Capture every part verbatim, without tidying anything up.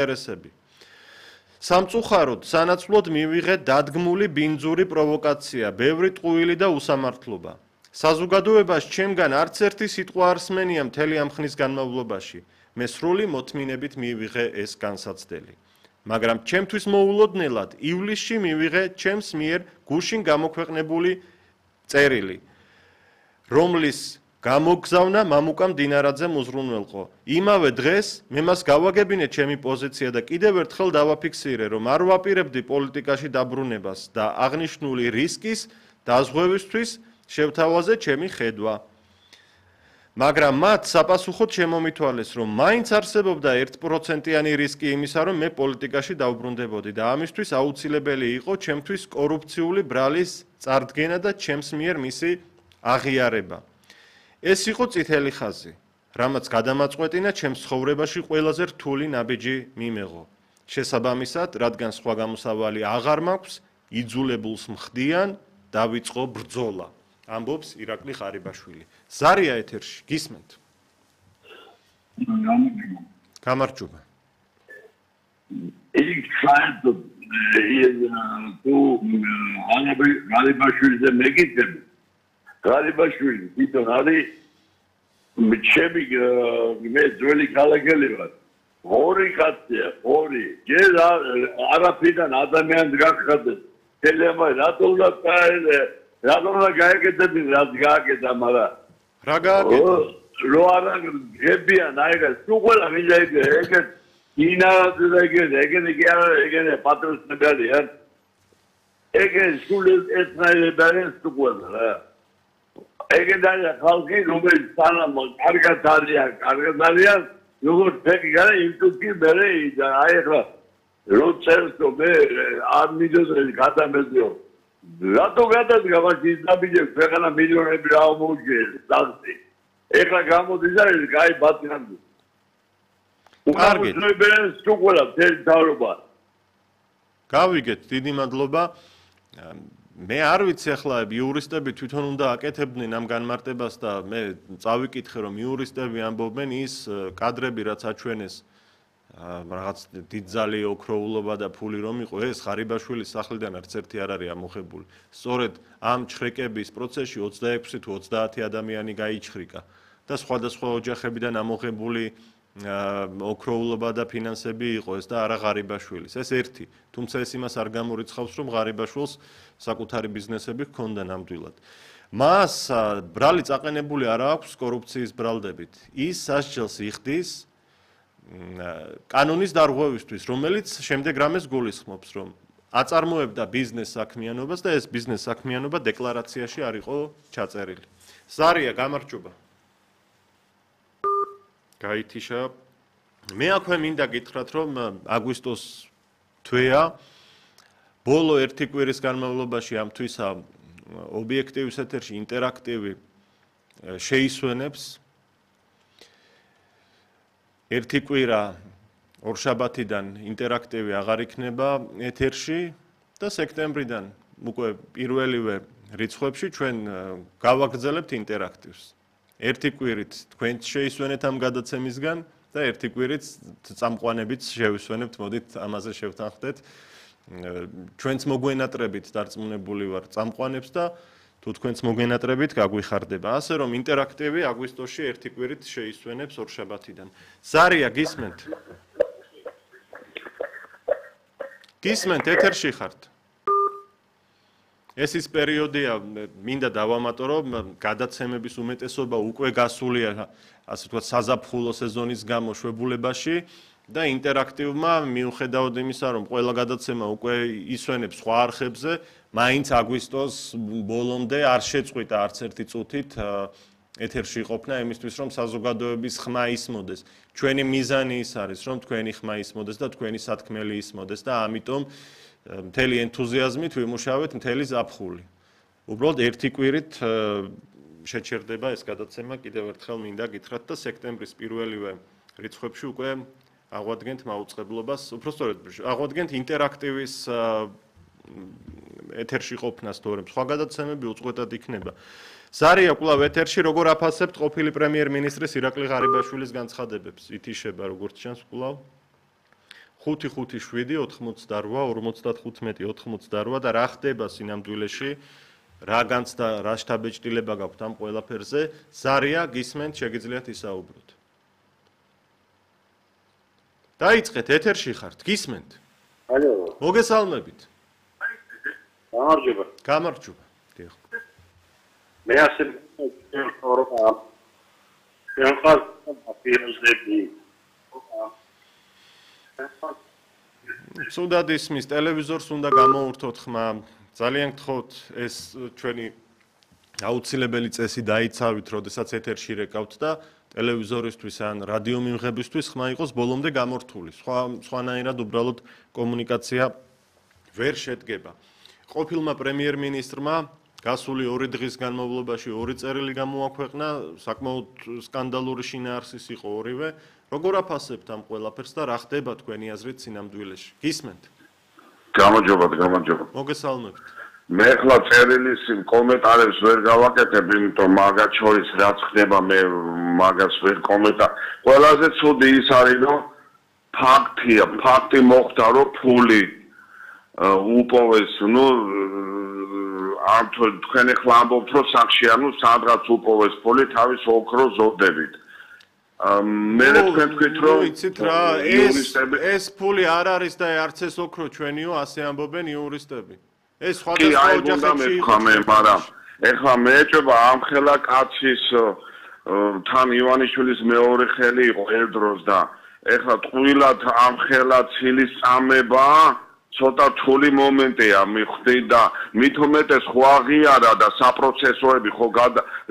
ინტერესები. სამწუხაროდ, სანაცვლოდ მივიღეთ დადგმული ბინძური პროვოკაცია, ბევრი ტყუილი და უსამართლობა. საზოგადოებას ჩემგან არც ერთი სიტყვა არ სმენია მთელი ამ ხნის განმავლობაში. მე სრული მოთმინებით მივიღე ეს განსაცდელი. მაგრამ ჩემთვის მოულოდნელად ივლისში მივიღე ჩემს მიერ გუშინ გამოქვეყნებული წერილი, რომლის გამოგზავნა მამუკა მდინარაძემ უზრუნველყო. იმავე დღეს მე მას გავაგებინე ჩემი პოზიცია და კიდევ ერთხელ დავაფიქსირე, რომ არ ვაპირებდი პოლიტიკაში დაბრუნებას და აღნიშნული რისკის დაზღვევისთვის შევთავაზე ჩემი ხედვა. მაგრამ მათ საპასუხოდ შემომითვალეს, რომ მაინც არსებობდა ერთ პროცენტიანი რისკი იმისა, რომ მე პოლიტიკაში დავბრუნდებოდი და ამისთვის აუცილებელი იყო ჩემთვის კორუფციული ბრალის წარდგენა და ჩემს მიერ მისი აღიარება. ეს იყო წითელი ხაზი, რამაც გადამაწყვეტინა ჩემს ცხოვრებაში ყველაზე რთული ნაბიჯი მიმეღო. შესაბამისად, რადგან სხვა გამოსავალი აღარ მაქვს, იძულებულს მხდიან დავიწყო ბრძოლა. ამბობს ირაკლი ღარიბაშვილი. ზარია ეთერში, გისმენთ? გამარჯობა. Ich fand თუ ღარიბაშვილზე მეკითხები, ღარიბაშვილი თვითონ არის ჩემი მე ძველი ქალაქელი ვარ. ორი კაცია, ორი. ჯერ არაფრიდან ადამიანს გახადეს. თელემა რატო უნდა წაელე? რატო უნდა გაეკეთებინ, რაც გააკეთა, მაგრამ რა გააკეთა? რო არა გებიან აიღეს, თუ ყველა მინდა ეგ ეგ ინარაძე და ეგ ეგ კი არა ეგ პატრონები არიან. ეგ სულ ერთნაირად თუ ყველა რა. ეგენდაა ხალხი, რომელიც სანამ კარგად არიან, კარგად არიან, როგორც ფეკი გარა იუტუბი მერე აი ახლა რო წერს რომ მე არ მიდოდეს გადამეძიო. რატო გადადგა მაგის დაბიჯე ქვეყანა მილიონები რა მოუგეს დაგწი. ეხლა გამოდის და ეს კაი ბატონი. კარგი. უბრალოდ თუ ყველა ძელ დავრობა. გავიგეთ, დიდი მადლობა. მე არ ვიცი ახლა იურისტები თვითონ უნდა აკეთებდნენ ამ განმარტებას და მე წავიკითხე რომ იურისტები ამბობენ ის კადრები რაც აჩვენეს რაღაც დიდძალი ოქროულობა და ფული რომ იყო ეს ღარიბაშვილის სახლიდან არც ერთი არ არის ამოხებული. სწორედ ამ ჩხრიკების პროცესში ოცდაექვსი თუ ოცდაათი ადამიანი გაიჩხრიკა და სხვადასხვა ოჯახებიდან ამოღებული ოქროულობა და ფინანსები იყო ეს და არა ღარიბაშვილის. ეს ერთი, თუმცა ეს იმას არ გამორიცხავს, რომ ღარიბაშვილს საკუთარი ბიზნესები ჰქონდა ნამდვილად. მას ბრალი წაყენებული არ აქვს კორუფციის ბრალდებით. ის სასჯელს იხდის კანონის დარღვევისთვის, რომელიც შემდეგ რამეს გულისხმობს, რომ აწარმოებდა ბიზნეს საქმიანობას და ეს ბიზნეს საქმიანობა დეკლარაციაში არ იყო ჩაწერილი. ზარია, გამარჯობა. გაითიშა. მე აქვე მინდა გითხრათ, რომ აგვისტოს თვეა ბოლო ერთი კვირის განმავლობაში ამ თვისა ობიექტივის ეთერში ინტერაქტივი შეისვენებს. ერთი კვირა ორშაბათიდან ინტერაქტივი აღარ იქნება ეთერში და სექტემბრიდან უკვე პირველივე რიცხვებში ჩვენ გავაგრძელებთ ინტერაქტივს. ერთი კვირით თქვენ შეისვენეთ ამ გადაცემისგან და ერთი კვირით წამყვანებით შევისვენებთ, მოდით ამაზე შევთანხმდეთ. ჩვენც მოგვენატრებით დარწმუნებული ვარ წამყვანებს და თუ თქვენც მოგვენატრებით გაგვიხარდება. ასე რომ ინტერაქტივი აგვისტოში ერთი კვირით შეისვენებს ორშაბათიდან. ზარია, გისმენთ? გისმენთ, ეთერში ხართ? ეს ის პერიოდია, მინდა დავამატო, რომ გადაცემების უმეტესობა უკვე გასულია, ასე ვთქვათ, საზაფხულო სეზონის გამო შვებულებაში და ინტერაქტივმა მიუხედავად იმისა, რომ ყველა გადაცემა უკვე ისვენებს სხვა არხებზე, მაინც აგვისტოს ბოლომდე არ შეწყვიტა არც ერთი წუთით ეთერში ყოფნა იმისთვის, რომ საზოგადოების ხმა ისმოდეს. ჩვენი მიზანი ის არის, რომ თქვენი ხმა ისმოდეს და თქვენი სათქმელი ისმოდეს და ამიტომ მთელი ენთუზიაზმით ვიმუშავეთ მთელი ზაფხული. უბრალოდ ერთი კვირით შეჩერდება ეს გადაცემა, კიდევ ერთხელ მინდა გითხრათ და სექტემბრის პირველივე რიცხვებში უკვე აღვადგენთ მაუწყებლობას, უბრალოდ აღვადგენთ ინტერაქტივის ეთერში ყოფნას, თორემ სხვა გადაცემები უწყვეტად იქნება. ზარია, კვლავ ეთერში როგორ აფასებთ ყოფილი პრემიერ-მინისტრის ირაკლი ღარიბაშვილის განცხადებებს? ითიშება როგორც ჩანს კვლავ. ხუთი ხუთი შვიდი ოთხმოცდარვა ორმოცდათხუთმეტი ოთხმოცდარვა და რა ხდება სინამდვილეში რა განცდა რა შთაბეჭდილება გაქვთ ამ ყველაფერზე ზარია გისმენთ შეგიძლიათ ისაუბროთ დაიწყეთ ეთერში ხართ გისმენთ ალო მოგესალმებით გამარჯობა გამარჯობა დიახ მე ასე ვთქვა შენყარ აფიოზები სუნდად ისმის ტელევიზორს უნდა გამოურთოთ ხმა ძალიან გთხოვთ ეს ჩვენი აუცილებელი წესი დაიცავით როდესაც ეთერში რეკავთ და ტელევიზორისთვის ან რადიო მიმღებისთვის ხმა იყოს ბოლომდე გამორთული სხვა სხვანაირად უბრალოდ კომუნიკაცია ვერ შედგება ყოფილმა პრემიერ-მინისტრმა გასული ორი დღის განმავლობაში ორი წერილი გამოაქვეყნა საკმაოდ სკანდალური შინაარსის იყო ორივე როგორ აფასებთ ამ ყველაფერს და რა ხდება თქვენი აზრით სინამდვილეში გისმენთ გამარჯობა გამარჯობა მოგესალმებით მე ხლა წერილის კომენტარებს ვერ გავაკეთებ იმიტომ მაგათ შორის რაც ხდება მე მაგას ვერ კომენტარ ყველაზე ცუდი ის არის რომ ფაქტია ფაქტი მოხდა რომ ფული უპოვეს ნუ ამ თქვენ ხლა ამბობთ რომ სახშია ნუ სადღაც უპოვეს ფული თავის ოქროს ზოდებით მე თქვენ თქვით რომ იცით რა ეს ეს ფული არ არის და არც ეს ოქრო ჩვენიო ასე ამბობენ იურისტები ეს სხვადასხვა ოჯახებში იყო მაგრამ ეხლა მე ეჭება ამ ხელა კაცის თან ივანიშვილის მეორე ხელი იყო ერთდროს და ეხლა ტყუილად ამ ხელა ცილის წამება ცოტა რთული მომენტია მიხვდი და მით უმეტეს ხო აღიარა და საპროცესოები ხო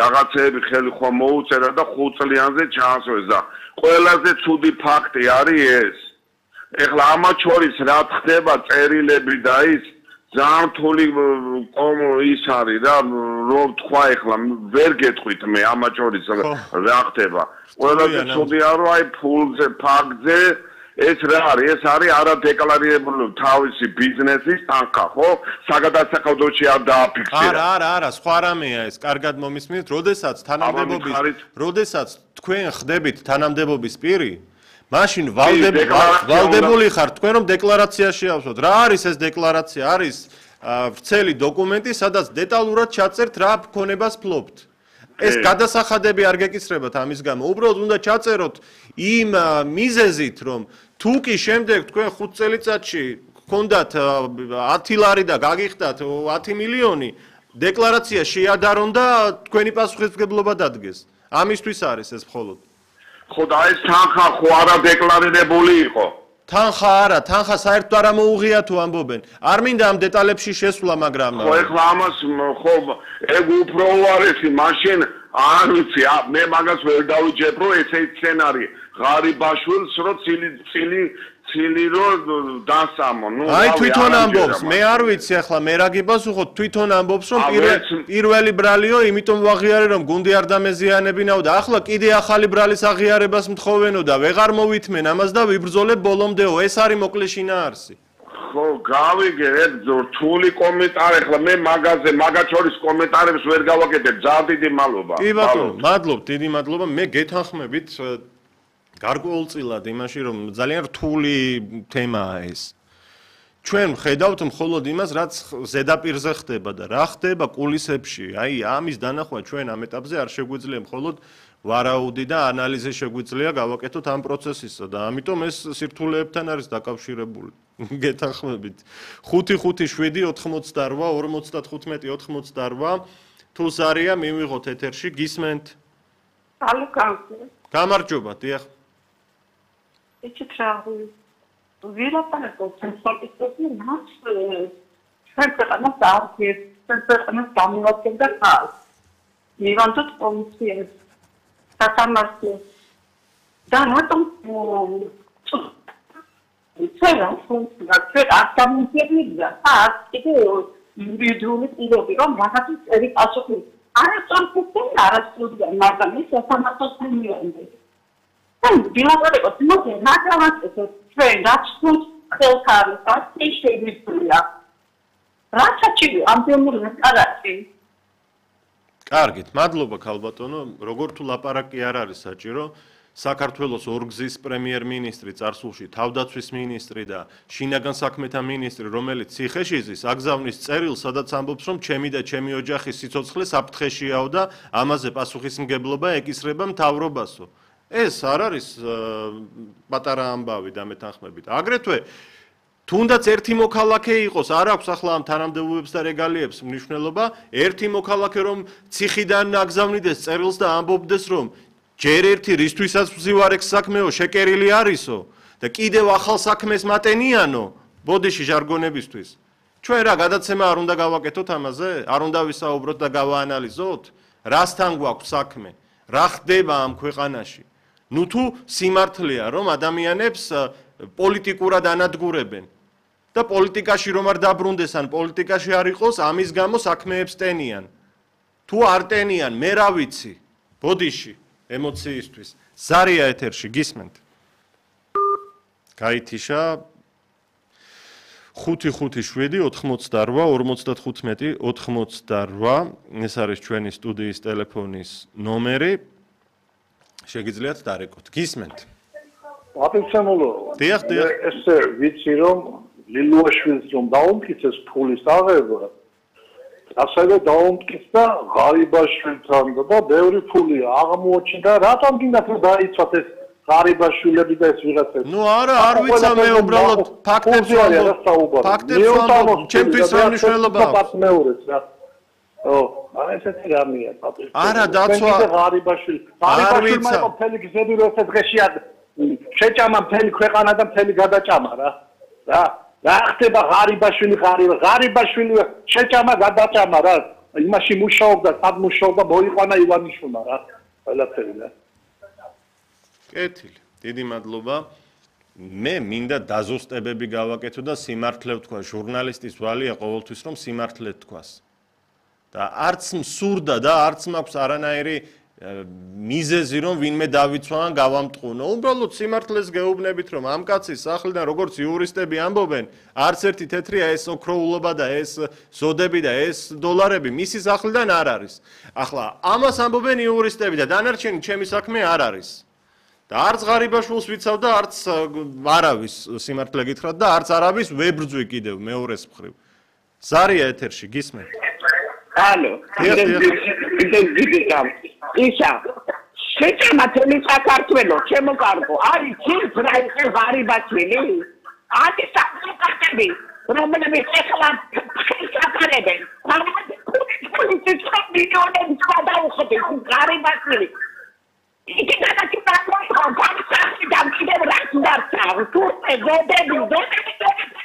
რაღაცეები ხელი ხო მოუწერა და ხუთ წლიანზე ჩაასვეს და ყველაზე ცუდი ფაქტი არის ეს ეხლა ამათ შორის რა ხდება წერილები და ის ძალიან რთული ის არის რა რომ თქვა ეხლა ვერ გეტყვით მე ამათ შორის რა ხდება ყველაზე ცუდია რომ აი ფულზე ფაქტზე ეს რა არის ეს არის არადეკლარირებული თავისი ბიზნესის თანხა ხო საგადასახადოში არ დააფიქსირა არა არა არა სხვა რამეა ეს კარგად მომისმინეთ როდესაც თანამდებობის როდესაც თქვენ ხდებით თანამდებობის პირი მაშინ ვალდებული ხართ თქვენ რომ დეკლარაცია შეავსოთ რა არის ეს დეკლარაცია არის ვრცელი დოკუმენტი სადაც დეტალურად ჩაწერთ რა ქონებას ფლობთ ეს გადასახადები არ გეკისრებათ ამის გამო უბრალოდ უნდა ჩაწეროთ იმ მიზეზით რომ თუ კი შემდეგ თქვენ ხუთ წელიწადში გქონდათ ათი ლარი და გაგიხდათ ათი მილიონი დეკლარაცია შეადარონ და თქვენი პასუხისმგებლობა დადგეს ამისთვის არის ეს მხოლოდ ხო და ეს თანხა ხო არა დეკლარირებული იყო თანხა არა თანხა საერთოდ არ მოუღია თუ ამბობენ არ მინდა ამ დეტალებში შესვლა მაგრამ ხო ეხლა ამას ხო ეგ უფრო უარესი მაშინ არ ვიცი მე მაგას ვერ დავიჯებ რომ ესე სცენარი ღარიბაშვილს რო ცილი ცილი ცილი რო დასამო ნუ აი თვითონ ამბობს მე არ ვიცი ახლა მე რა გიპასუხოთ თვითონ ამბობს რომ პირველი ბრალიო იმიტომ ვაღიარე რომ გუნდი არ დამეზიანებინაო და ახლა კიდე ახალი ბრალის აღიარებას მთხოვენო და ვეღარ მოვითმენ ამას და ვიბრძოლებ ბოლომდეო ეს არის მოკლე შინაარსი ხო გავიგე ეგ რთული კომენტარი ახლა მე მაგაზე მაგათ შორის კომენტარებს ვერ გავაკეთებ ძალიან დიდი მადლობა კი ბატონო მადლობ დიდი მადლობა მე გეთანხმებით გარკვეულწილად იმაში რომ ძალიან რთული თემაა ეს ჩვენ ხედავთ მხოლოდ იმას რაც ზედაპირზე ხდება და რა ხდება კულისებში აი ამის დანახვა ჩვენ ამ ეტაპზე არ შეგვიძლია მხოლოდ ვარაუდი და ანალიზი შეგვიძლია გავაკეთოთ ამ პროცესისა და ამიტომ ეს სირთულეებთან არის დაკავშირებული გეთანხმებით ხუთი ხუთი შვიდი ოთხმოცდარვა ორმოცდათხუთმეტი ოთხმოცდარვა თუ ზარია მივიღოთ ეთერში გისმენთ ალო გამარჯობა დიახ Ече трябва вилапането сенсорите нас сенсорна сарки сенсорна самилата да хас нивантот комисия татамарки да нотом цела функция цела автоматизация хас это индивидуальный идея რომ რაღაცა წერი პასუხი არა სამწუხაროდ არა სტუდია მაგრამ ის სამართლიანია დილაბარებოთ მოდი მაგალითად ჩვენ რაც თუნ ხელქარი ასე შეგვიძლია რაჩაჩი ამბემური კარაკი კარგით მადლობა ქალბატონო როგორ თუ ლაპარაკი არ არის საჭირო საქართველოს ორგზის პრემიერ-მინისტრი წარსულში, თავდაცვის მინისტრი და შინაგან საქმეთა მინისტრი, რომელიც ციხეში ზის, აგზავნის წერილს, სადაც ამბობს, რომ ჩემი და ჩემი ოჯახის სიცოცხლე საფრთხეშიაო და ამაზე პასუხისმგებლობა ეკისრება მთავრობასო. ეს არ არის პატარა ამბავი დამეთანხმებით. აგრეთვე თუნდაც ერთი მოქალაქე იყოს, არ აქვს ახლა ამ თანამდებობებს და რეგალიებს მნიშვნელობა, ერთი მოქალაქე რომ ციხიდან აგზავნიდეს წერილს და ამბობდეს, რომ ჯერ ერთი რისთვისაც ვზივარ ეს საქმეო, შეკერილი არისო და კიდევ ახალ საქმეს მატენიანო, ბოდიში ჟარგონებისთვის. ჩვენ რა გადაცემა არ უნდა გავაკეთოთ ამაზე? არ უნდა ვისაუბროთ და გავაანალიზოთ? რასთან გვაქვს საქმე? რა ხდება ამ ქვეყანაში? ნუ თუ სიმართლეა, რომ ადამიანებს პოლიტიკურად ანადგურებენ და პოლიტიკაში რომ არ დაბრუნდეს ან პოლიტიკაში არ იყოს, ამის გამო საქმეებს ტენიან. თუ არ ტენიან, მე რა ვიცი, ბოდიში ემოციისთვის. ზარია ეთერში, გისმენთ. გაითიშა ხუთი ხუთი შვიდი ოთხმოცდარვა ორმოცდათხუთმეტი ოთხმოცდარვა. ეს არის ჩვენი სტუდიის ტელეფონის ნომერი. შეგიძლიათ დარეკოთ. გისმენთ. აპეცემულო. დიახ, დიახ. ესე ვიცი რომ ლილუაშვილს რომ დაუმტკიცეს ფულის აღება. ასევე დაუმტკიცდა ღარიბაშვილთან და ბევრი ფული აღმოჩნდა. რატომ გინდათ რომ დაიცვათ ეს ღარიბაშვილები და ეს ვიღაცები? ნუ არა, არ ვიცა მე უბრალოდ ფაქტებს ვამბობ. ფაქტებს ვამბობ, ჩემთვის მნიშვნელობა აქვს. მეურეც რა. ო, აი ესეთი რამეა, პატრიოტი. არა, დაცვა ღარიბაშვილი. ღარიბაშვილმა იყო მთელი გზები რო ეს დღეში შეჭამა მთელი ქვეყანა და მთელი გადაჭამა რა. რა რა ხდება ღარიბაშვილი ღარიბ ღარიბაშვილი შეჭამა გადაჭამა რა. იმაში მუშაობდა, სად მუშაობდა, მოიყვანა ივანიშვილმა რა. ყველაფერი რა. კეთილი. დიდი მადლობა. მე მინდა დაზუსტებები გავაკეთო და სიმართლე ვთქვა. ჟურნალისტის ვალია ყოველთვის რომ სიმართლე თქვას. და არც მსურდა და არც მაქვს არანაირი მიზეზი რომ ვინმე დავიცვან გავამტყუნო. უბრალოდ სიმართლეს გეუბნებით რომ ამ კაცის სახლიდან როგორც იურისტები ამბობენ, არც ერთი თეთრია ეს ოქროულობა და ეს ზოდები და ეს დოლარები მისი სახლიდან არ არის. ახლა ამას ამბობენ იურისტები და დანარჩენი ჩემი საქმე არ არის. და არც ღარიბაშვილს ვიცავ და არც არავის სიმართლე გითხრათ და არც არავის ვებრძვი კიდევ მეორეს მხრივ. ზარია ეთერში, გისმენთ. ალო, ისა, შეჭამა თელი საქართველო, ჩემო კარგო, არის ცირც რა იყო ღარიბაშვილი? არის საკუთები, რომლებიც ეხლა ხალხაკარებენ. პოლიტიკა მილიონები გადაუხდით ღარიბაშვილი. იქ გადაჭიმა კონფერენციაში დამკიდებ რაც დარჩა, თურმე ზედები, ზედები.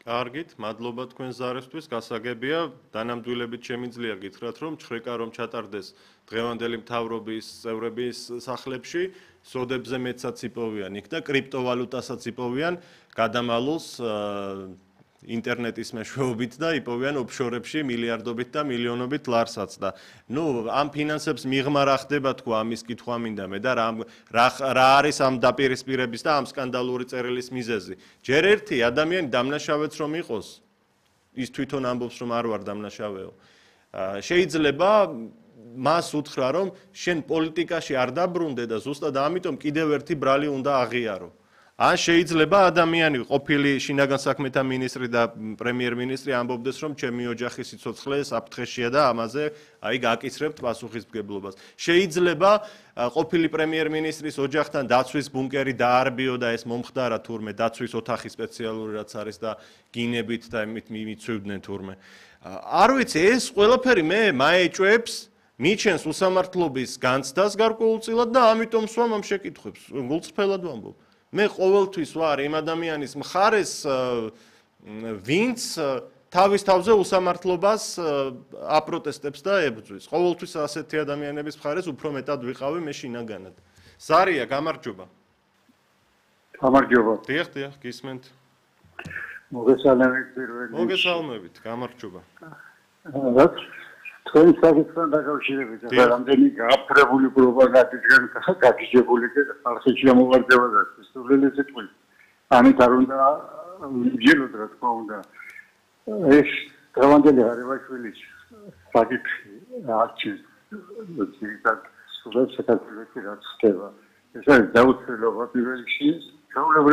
კარგით, მადლობა თქვენ ზარისთვის, გასაგებია, დანამდვილებით შემიძლია გითხრათ, რომ ჩხრეკა რომ ჩატარდეს დღევანდელი მთავრობის წევრების სახლებში, სოდებზე მეცაც იპოვიან იქ და კრიპტოვალუტასაც იპოვიან, გადამალულს ინტერნეტის მეშვეობით და იპოვიან ოფშორებში მილიარდობით და მილიონობით ლარსაც და ნუ ამ ფინანსებს მიღმა რა ხდება თქვა ამის კითხვა მინდა მე და რა რა არის ამ დაპირისპირების და ამ სკანდალური წერილის მიზეზი. ჯერ ერთი ადამიანი დამნაშავეც რომ იყოს, ის თვითონ ამბობს რომ არ ვარ დამნაშავეო. შეიძლება მას უთხრა რომ შენ პოლიტიკაში არ დაბრუნდე და ზუსტად ამიტომ კიდევ ერთი ბრალი უნდა აღიარო. ან შეიძლება ადამიანი ყოფილი შინაგან საქმეთა მინისტრი და პრემიერ-მინისტრი ამბობდეს რომ ჩემი ოჯახის სიცოცხლე საფრთხეშია და ამაზე აი გაკისრებთ პასუხისმგებლობას. შეიძლება ყოფილი პრემიერ-მინისტრის ოჯახთან დაცვის ბუნკერი დაარბიო და ეს მომხდარა თურმე დაცვის ოთახი სპეციალური რაც არის და გინებით და იმით მიცვივდნენ თურმე. არ ვიცი ეს ყველაფერი მე მაეჭვებს მიჩენს უსამართლობის განცდას გარკვეულწილად და ამიტომ სვამ ამ შეკითხვებს გულწრფელად ვამბობ. მე ყოველთვის ვარ იმ ადამიანის მხარეს, ვინც თავის თავზე უსამართლობას აპროტესტებს და ებრძვის. ყოველთვის ასეთი ადამიანების მხარეს უფრო მეტად ვიყავი მე შინაგანად. ზარია, გამარჯობა. გამარჯობა. დიახ, დიახ, გისმენთ. მოგესალმებით პირველი. მოგესალმებით, გამარჯობა. რაც თქვენ საკითხთან დაკავშირებით რამდენი გააფრებული პროპაგანდისგან გაგიჟებული და ხალხში ამოვარდება და სულელი სიტყვით. ამით არ უნდა ვიჯეროთ რა თქმა უნდა. ეს დღევანდელი ღარიბაშვილის საკითხი არჩის ძირითად სულებს საქართველოში რაც ხდება. ეს არის დაუცველობა პირველ რიგში. ჩვეულებრივ